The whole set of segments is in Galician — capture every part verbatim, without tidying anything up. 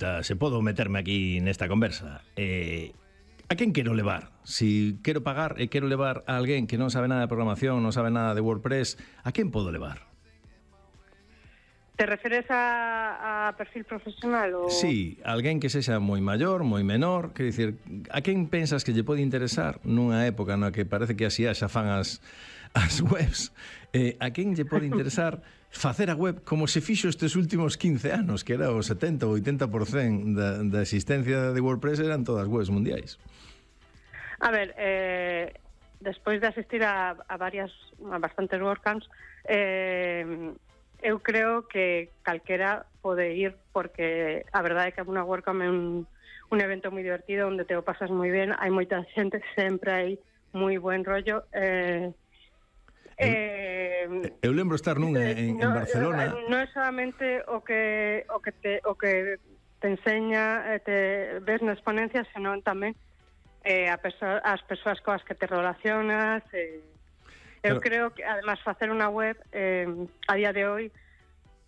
Ta, se podo meterme aquí nesta conversa. Eh, a quen quero levar? Si quero pagar e quero levar a alguén que non sabe nada de programación, non sabe nada de WordPress, a quen podo levar? Te referes a, a perfil profesional? Ou... Sí, alguén que sexa moi maior, moi menor, quer dicir, a quen pensas que lle pode interesar nunha época na que parece que así xa fan as, as webs, eh, a quen lle pode interesar facer a web como se fixo estes últimos quince anos, que era o setenta ou oitenta por cento da, da existencia de WordPress eran todas webs mundiais? A ver, eh, despois de asistir a, a varias, a bastantes WordCamps, eh, eu creo que calquera pode ir, porque a verdade é que unha WordCamp é un, un evento moi divertido onde te o pasas moi ben, hai moita xente, sempre hai moi buen rollo. eh, Eh, eu lembro estar nunha en, no, en Barcelona. Non é solamente o que o que te o que te enseña, eh, te ves nas ponencias, senón tamén eh, a perso- as persoas coas que te relacionas. Eh, eu Pero... creo que además facer unha web eh, a día de hoy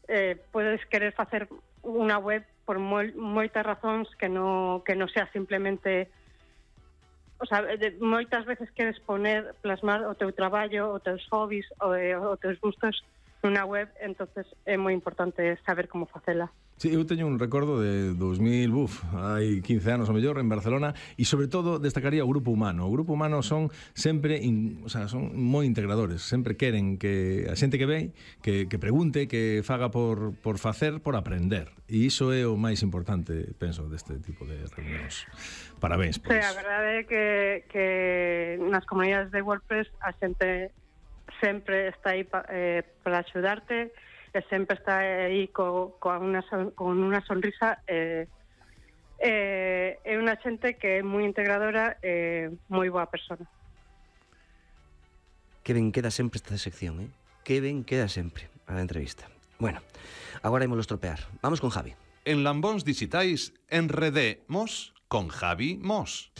eh, podes querer facer unha web por moi, moitas razóns que no que non sea simplemente. O sea, de, moitas veces queres poner, plasmar o teu traballo, os teus hobbies, o, o teus gustos nunha web, entonces é moi importante saber como facela. Sí, eu teño un recordo de dos mil, buf, hai quince anos o mellor en Barcelona, e sobre todo destacaría o grupo humano. O grupo humano son sempre, in, o sea, son moi integradores, sempre queren que a xente que ve, que, que pregunte, que faga por, por facer, por aprender. E iso é o máis importante, penso, deste tipo de reunións. Parabéns, pois. Sí, a verdade é que, que nas comunidades de WordPress a xente sempre está aí pa, eh, para axudarte, e sempre está aí co, co una, con unha sonrisa. Eh, eh, é unha xente que é moi integradora e eh, moi boa persona. Que ben queda sempre esta sección, eh? Que ben queda sempre a entrevista. Bueno, agora ímolo estropear. Vamos con Javi. En Lambóns Digitais enredemos con Javi Mos.